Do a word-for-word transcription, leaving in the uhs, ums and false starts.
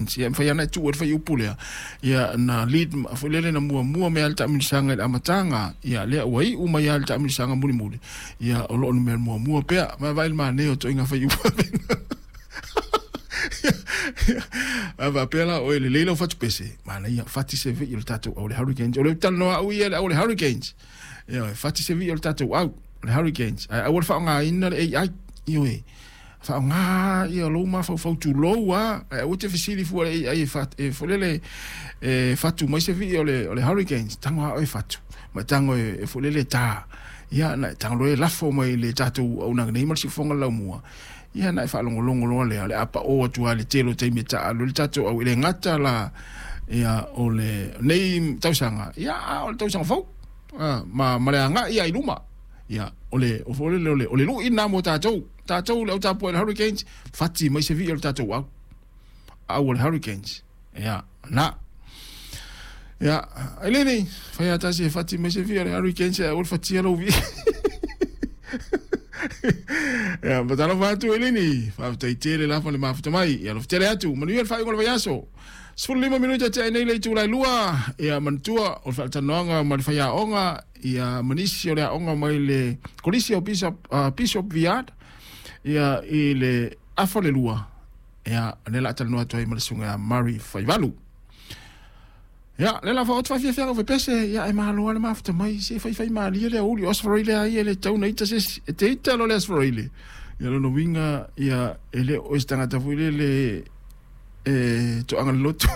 Hurricanes. Ia mafai lava ona e tuu ai le fuaiupu lea, ia na lead foi lele na muamua mai lava le taamilosaga i le amataga, ia lea ua iu mai lava le taamilosaga mulimuli, ia o lo o numera muamua pea. Vaavaai i le manaia o ituaiga fuaiupu a faapea la oe lelei lau fatupese, manaia fati se vii o le tatou au le Hurricanes. O le talanoa au ia le au o le Hurricanes. Ioe, fati se vii o le tatou au le Hurricanes. Ae aua le faaaogaina le A I. Ioe, faaaoga ia lou mafaufau tulou a, ae aua te fesili fua le A I e fat, e folele e fatu mai se vii o le o le Hurricanes. Tago a oe fatu, ma tago e, e folele ta. Ia na e tago loa e lafo mai le tatou auaunaga nei ma le siufofoga o le laumua. Ia na e faalogologo loa lea, o le a pao atu lava i le tele o taimi e taaalo ai le tatou au i le gata la ia o le nei tausaga, ia a o le tausaga fou. Ah, ma ma le agai ia i luma. Ia o le o foi lele o le o le lui lena mo tatou. Tatou le au tapuai i le Hurricanes, fati mai se vii o le tatou au. Au o le Hurricanes. Ia, na. Ia, Eleni, fai lava tasi e fati mai se vii o le Hurricanes ae aua le fatia lou vii. Ia, matalofa atu Eleni, faafetai tele lava le mafuta mai. Ia, alofa tele atu, manuia le faaiuga o le vaiaso. Sefulu lima minute tea nei le itula e lua, ia manatua o le faatalanoaga ma le faiaoga, ia ma nisi o le aoga mai le Kolisi o Bishop, uh, Bishop Viard, ia i le afa o le lua, ia lea la talanoa atu ai ma le susuga ia Murray Faivalu. Ia, lea la faaoto faafiafiaga o fepese, ia e malo lava le mafuta mai, se faifai malie le aoauli o Aso Faraile lava ia e le tatau ona ita se isi, e te ita loa le Aso Faraile, ia lona uiga, ia e le o se tagata foi lele e toaga le lotu.